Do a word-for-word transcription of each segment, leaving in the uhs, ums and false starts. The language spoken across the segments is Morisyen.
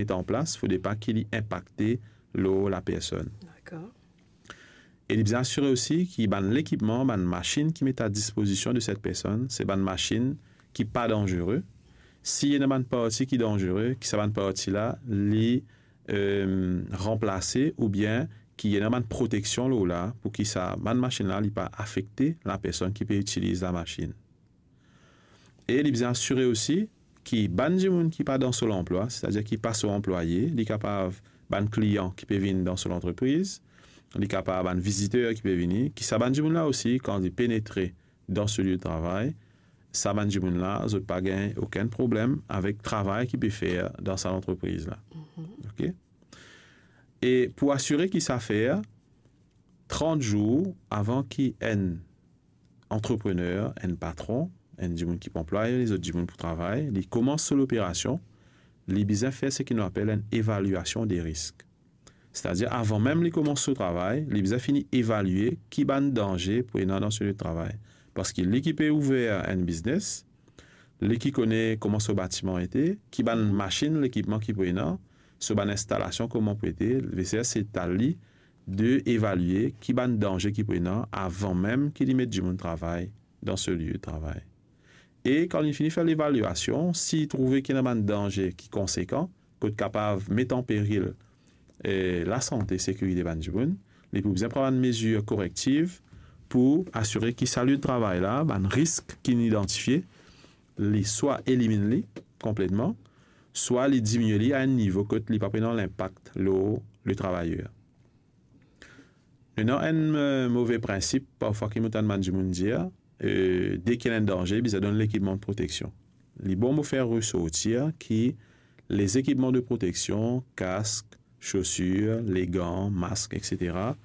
met an plas, fode pa ki li inpakte lor lapersonn. Dakor. E li bizin asire osi ki bann lekipman, bann masinn ki met a dispozision de set personn, se bann masinn ki pa danzere. Si ena bann parti ki danzere, ki sa bann parti la, li, eh, ranplase oubien ki ena bann proteksion lor la, pou ki sa bann masinn la, li pa afekte lapersonn ki pe itiliz lamasin. E li bizin asire osi ki bann dimoun ki pa dan so lanplwa, setadir ki pa so anplwaye, li kapav bann klian ki pe vinn dan so lantrepriz, li kapav bann viziter ki pe vini, ki sa bann dimoun la osi, kan li penetre dan so lie de travay, sa bann dimoun la, zot pa gagn okenn problem avek travay ki pe fer dan sa lantrepriz la. Mhm. Ok? E pou asire ki sa fer, trant zour avan ki enn antreprener, enn patron, enn dimoun ki pou anplway lezot dimoun pou travay, li koumans so loperasion, li bizin fer seki nou apel enn evaliasion de risk. Setadir, avan mem li koumans so travay, li bizin fini evalie ki bann danze pou ena dan so lie de travay. Parski li ki pe ouver enn biznes, li ki kone kouma so batiman ete, ki bann masinn, lekipman ki pou ena, so bann instalasion kouma pou ete, veser se ta li de evalie ki bann danze ki pou ena avan mem ki li met dimoun travay dan so lie de travay. E kan li fini fer levaliasion, si li trouve ki ena bann danze ki konsekan, kot kapav met an peril, eh, lasante, sekirite bann dimoun, li pou bizin pran bann mezir korektiv pou asire ki sa lie de travay la, bann risk ki li idantifie, li swa eliminn li konpletman, swa li diminie li a enn nivo kot li pa pou ena linpak lor le travayer. Nou ena enn, eh, move prinsip, parfwa ki mo tann bann dimoun dir, eh, deki ena enn danze, bizin donn lekipman de proteksion. Li bon mo fer resortir ki lezekipman de proteksion, kask, sosir, legan, mask, et cetera,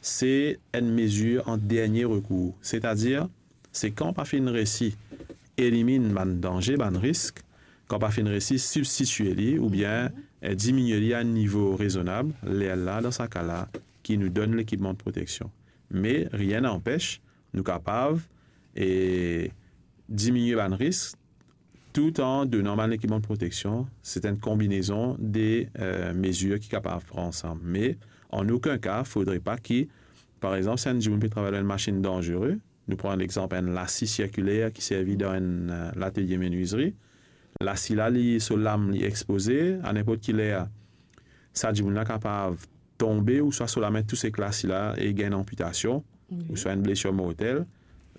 se enn mezir an dernie rekour. Setadir, se kan pa finn resi eliminn bann danze, bann risk, kan pa finn resi sibstitie li oubien, eh, diminie li a enn nivo rezonab, lerla, dan sa ka la, ki nou donn lekipman de proteksion. Me rien n'anpes, nou kapav, eh, diminie bann risk, tout an donan bann lekipman de proteksion. Se enn konbinezon de, eh, mezir ki kapav pran ansam. Me an okenn ka, fodre pa ki, par exanp, si enn dimoun pe travay lor enn masinn danzere, nou pran lexanp enn lasi sirkiler ki servi dan enn, eh, latelie menwizri. Lasi la, li, so lam, li expoze, a ninport ki ler, sa dimoun la kapav tonbe, ouswa so lame tous ek lasi la e gagn enn anpitasion, wi, ouswa enn blesir mortel.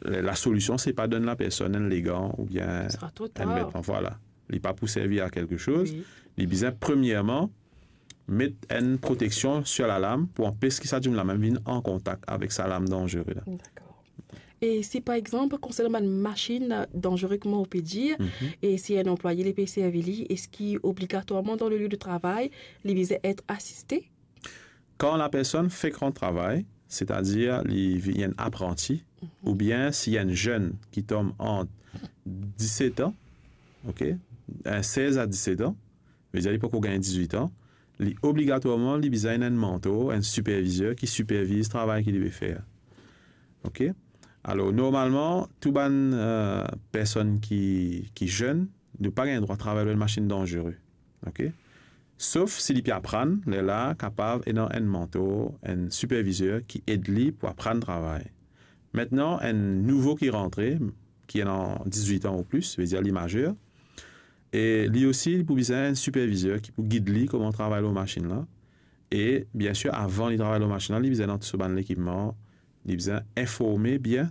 La, lasolision, se pa donn lapersonn enn legan oubien enn vetman, vwala. Li pa pou servi a kelke soz. Wi. Li bizin premierman met enn proteksion sir lalam pou anpes ki sa dimoun la mem vinn an kontak avek sa lam danzere la. Dakor. E si, par exanp, konsernan bann masinn danzere, kouma ou pe dir, mhm, e si enn anplwaye li pe servi li, eski obligatwarman dan le lie de travay, li bizin et asiste? Kan lapersonn fek rant travay, setadir li vinn enn apranti, mhm, oubien si enn zenn ki tom ant diset an, ok, eh, sez a diset an, vedir li poko gagn dizuit an, li obligatwarman, li bizin enn mantor, enn sipervizer ki siperviz travay ki li pe fer. Ok? Alor, normalman, tou bann, eh, personn ki, ki zenn, nou pa gagn drwa travay lor enn masinn danzere. Ok? Sof si li pe aprann, lerla kapav ena enn mantor, enn sipervizer ki ed li pou aprann travay. Aster, enn nouvo ki rantre, ki ena dizuit an ou plis, vedir li mazer, e li osi, li pou bizin enn sipervizer ki pou gid li kouma travay lor masinn la. E, biensir, avan li travay lor masinn la, li bizin ena tou so bann lekipman, li bizin informe bien,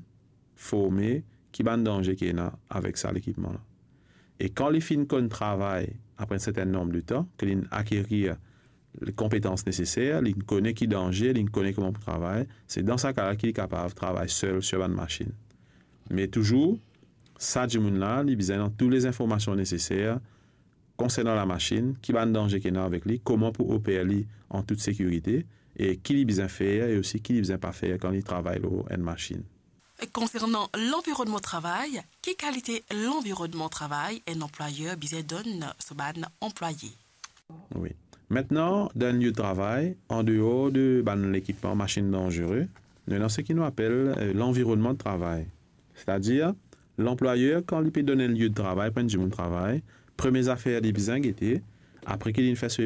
forme ki bann danze ki ena avek sa lekipman la. E kan li finn konn travay apre enn sertenn nonb de tan, ke linn akerir le konpetans neseser, linn kone ki danze, linn kone kouma pou travay, se dan sa ka la ki li kapav travay sel sir bann masinn. Me touzour, sa dimoun la, li bizin ena tou le zinformasion neseser konsernan lamasinn, ki bann danze ki ena avek li, kouma pou oper li an tout sekirite, e ki li bizin fer e osi ki li bizin pa fer kan li travay lor enn masinn. Konsernan lanvironnman travay, ki kalite lanvironnman travay enn anplwayer bizin donn so bann anplwaye? Wi. Aster, dan enn lie de travay, andeor de bann lekipman masinn danzere, nou ena seki nou apel, eh, lanvironnman travay. Setadir, lanplwayer, kan li pe donn enn lie de travay pou enn dimoun travay, premie zafer li bizin gete, apre ki linn fer so